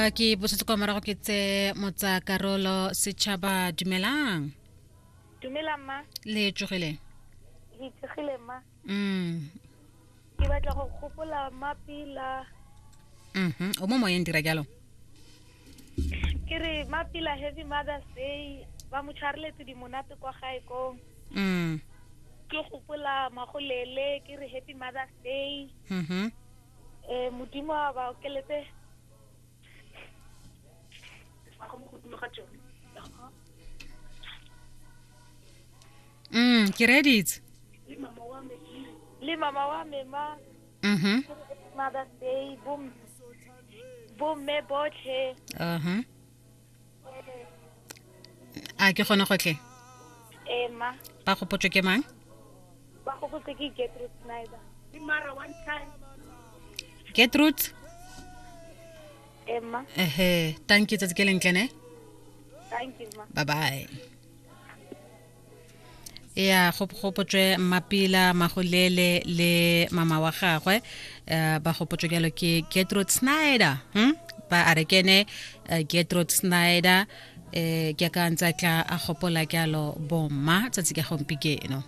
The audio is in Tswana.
A ke bosetse kwa morago ke tse motsa karolo setšhaba dumelang. Dumela mma. Le tsogile? Le tsogile mma. Ke batla go gopola Mapila. O mo moyeng dira jalo. Ke re Mapila happy Mother's Day ba mo tshwareletse di monate kwa gae ko. Ke gopola Magolele ke re happy Mother's Day. Modimo a ba okeletse Ke reeditse. Le mama wa me ma. Mother's Day bo bomme botlhe. A ke gone gotlhe? Ee ma. Ba gopotswe ke mang? Ba gopotswe ke Gertrude Snyder. Mara one time. Gertrude? Ee ma. Ehe, thank you tsatsi ke lentle ne? Thank you ma. Bye bye. Ya go gopotswe Mmapila Magolele le mama wa gagwe ba gopotswe jalo ke Gertrude Snyder. Ba a re kene Gertrude Snyder ke ka ntse tla a gopola jalo bomma tsatsi ka gompieno.